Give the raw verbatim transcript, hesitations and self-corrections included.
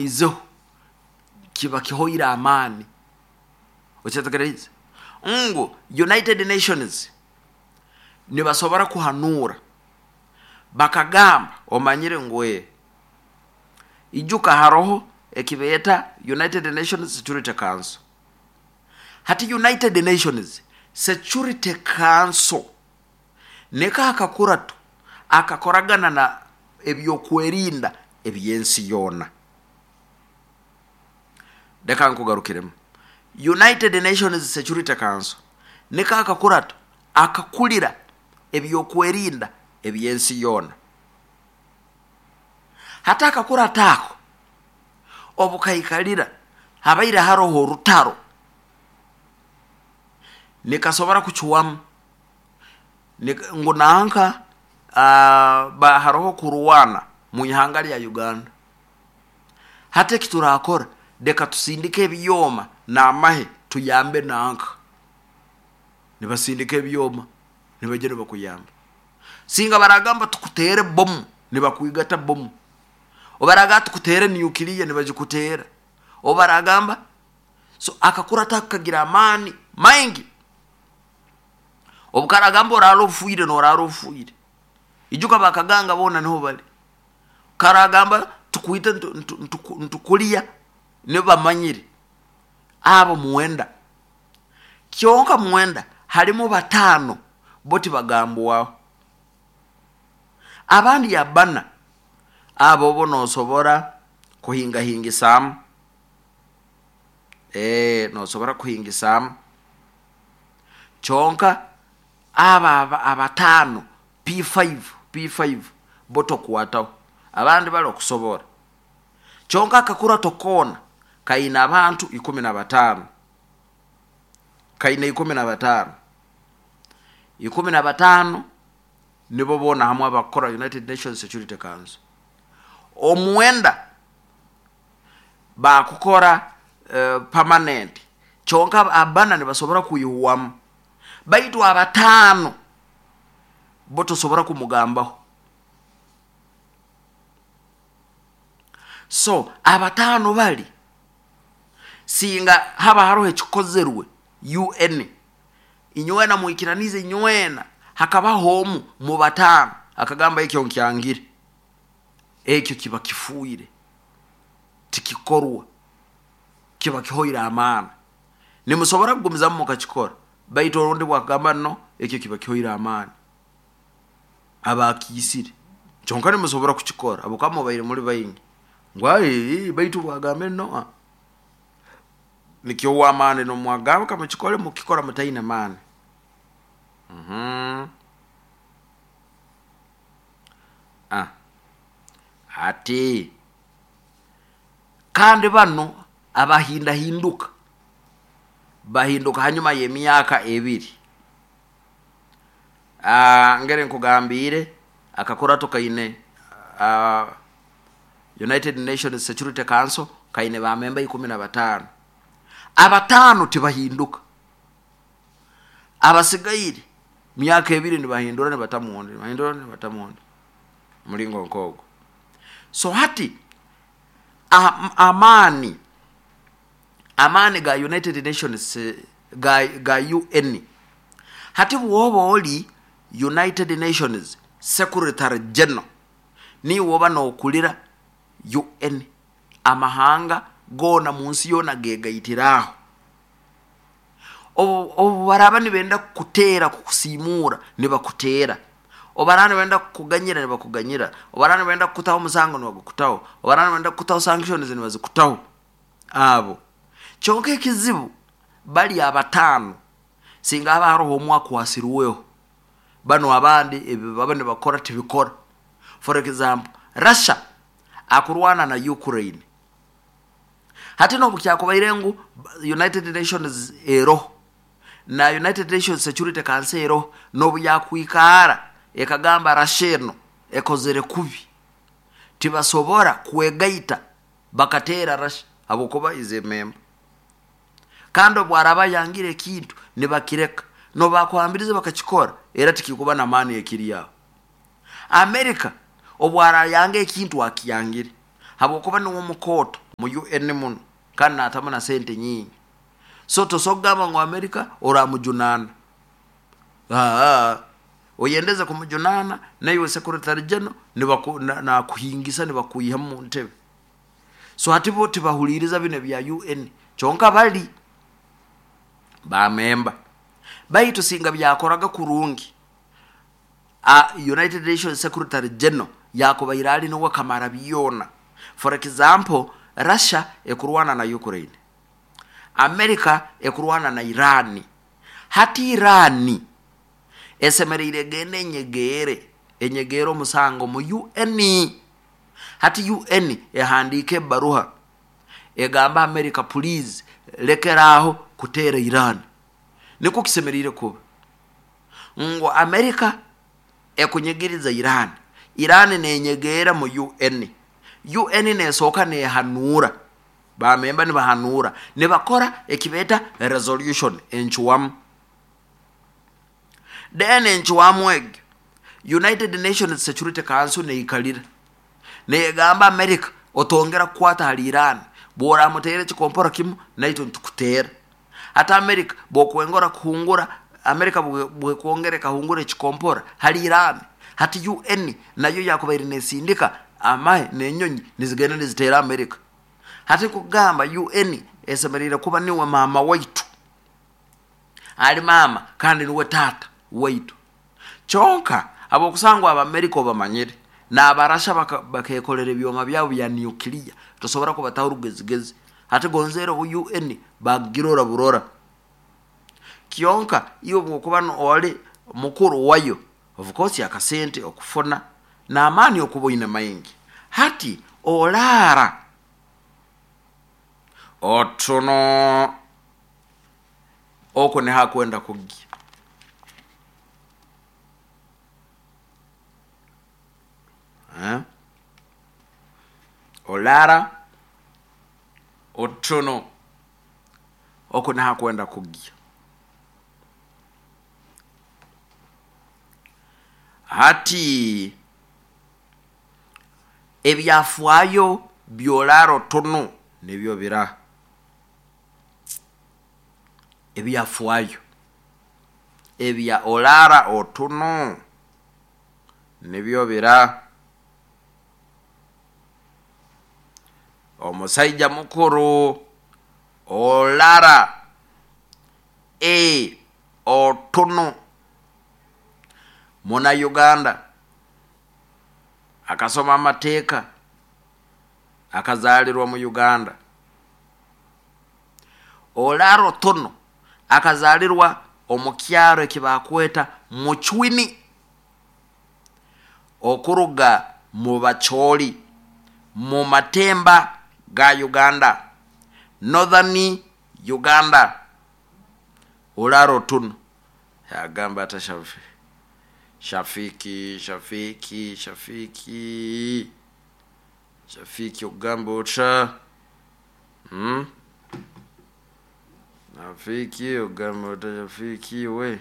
Izeho kiba kihoire amaani. Okyetegereze ngu United Nations nibasobora kuhanuura bakagamba, omanyire ngu e ijuka haroho ekibeeta United Nations Security Council. Hati United Nations Security Council niko akakurato akakoragana na ebyokwerinda ebyensi yoona. Leka nkugarukiremu. United Nations Security Council niko akakurato akakulira ebyokwerinda ebyensi yoona. Hati akakurato ako obukaikalira habaire haroho orutaro, nikasobora kucwamu ngu nanka uh, haroho kurwana mu ihanga lya Uganda. Hati ekiturakora, leka tusindike ebyoma n'amahe tuyambe nanka. Nibasindika ebyoma, nibaija nibakuyamba. Singa baragamba tukutere bomu, nibakwigata bomu. Obaragamba tukutere nuclear, nibagikutera. Obaragamba so akakurata kagira amaani maingi. Obukaragamba orara ofuire, norara ofuire. Ijuka bakaganga bona niho bali. Karagamba tukwite ntukulya, nibamanyire abo mwenda. Kyonka mwenda halimu bataano bo tibagambwaho, abandi abana abo bo nosobora kuhingahingisaamu, e, nosobora kuhingisaamu. Kyonka aba abataano P five, P five bo tokwataho, abandi bali okusobora. Kyonka akakurato koona kaina abantu ikumi na bataano, kaina ikumi na bataano, ikumi na bataano nibo boona hamwe abakora United Nations Security Council. Omwenda bakukora uh, permanent, kyonka abana nibasobora kuihwamu, baitu abataano bo tosobora kumugambaho. So abataano bali singa haba haroho ekikozerwe U N, inywena mwikiranize inywena, hakabaho omu mu bataano akagamba ekyo nkyangire, ekyo kiba kifuire, tikikorwa, kiba kihoire amaani. Nimusobora kugumizamu mukakikora, baitu orundi bwakagamba no ekyo kiba kihoire amaani, abakiisire. Kyonka nimusobora kukikora habwokuba mubaire muri baingi ngu ai baitu bwagambe no nikyo amaani nomwagamba kamukikore, mukikora mutaine maani. Mhm. Ah. Ati kandi bano abahindahinduka bahinduka hanyuma y'emyaka ebiri. Ah, ngere nkugambire akakurato kaine uh, United Nations Security Council kaine ba memba ikumi na batano. Abatano tibahinduka, abasigaire myaka ebiri nibahindura nibatamuonde, nibahindura nibatamuonde mulingo nkogo. So hati am, amani amani ga United Nations ga, ga U N, hati bwoba oli United Nations Secretary General niwe oba nokulira U N, amahanga gona munsi yona gegaitiraho. Obu baraba nibenda kukutera kukusimura nibakutera, obaraba nibenda kukuganyira nibakuganyira, obaraba nibenda kukutaho omusango nibagukutaho, obaraba nibenda kukutaho sanctions nibazikutaho. Abo kyonka ekizibu bali abatano, singa haba haroho omwe akwasirweho, bano abandi ebi baba nibakora tibikora. For example, Russia akurwana na Ukraine. Hati nobu kyakubaire ngu United Nations eroho na United Nations Security Council eroho, nobu yakwikara ekagamba Russia eno ekozere kubi, tibasobora kwegaita bakatera Russia habwokuba ize memba. Kandi obwaraba yangire ekintu nibakireka, nobakuhambiriza bakakikora, era tikikuba na maani ekiri aho. America obwarayanga ekintu akiyangire habwokuba niwe omukoto. mu U N muno kandi naatamu na sente nyingi. So tosogamba ngu Amerika oramujunana, aa oyendeze kumujunana naiwe secretary general nibaku, nakuhingisa nibakuiha mu ntebe. So hati bo tibahuliriza bino bya U N kyonka bali bamemba baitu singa byakoraga kurungi. A United Nations Secretary General yakubaire ali niwe kamara byona. For example, Russia ekurwana na Ukraine, America ekurwana na Iran. Hati Iran esemereire gende enyegere enyegere omusango mu U N. Hati U N ehandike baruha egamba America, please lekeraho kutera Iran. Niko kisemereire kuba ngo America ekunyegeriza Iran, Iran nenyegera mu U N, U N nesoka nehanura bamemba nibahanura nibakora ekibeta resolution enchuwamu. Then enchuwamu eg United Nations Security Council neikalira negamba America otongera kukwata hali Iran, bora mutere chikompora kimu naito ntukutera. Hata America bokwengora kuhungura America bwe kuongere kahungura chikompora hali Iran. Hati U N nayo yakubaire nesindika amahe nenyonyi nizigenda nizitera America. Hati kugamba U N esemerire kuba niwe mama waitu, ali mama kandi niwe tata waitu. Chonka abo kusangwa aba America obamanyire n'abarasha bakekolera ebyoma byabo bya nuclear tosobora kubataho rugezigezi. Hati gonzero U N bagirora burora kyonka iyo bwokuba oli mukuru wayo of course akasente okufuna na amani okuboina maingi. Hati olara otono oko ne hakwenda kugi eh olara otono oko ne hakwenda kugi. Hati ebyafwayo byolaro tono nibyo bira ebyafwayo ebya olara otono nibyo bira. Omusaija mukuru olara e otono muna Uganda akasoma amateeka akazalirwa mu Uganda. Olara Otono akazalirwa omukyaro ekibakweta Muchwini okuruga mu Bacholi mu Matemba ga Uganda, Northern Uganda. Olara Otono yagamba atashafi Shafiki Shafiki Shafiki Shafiki ogamba otya hmm Shafiki ogamba otya Shafiki we.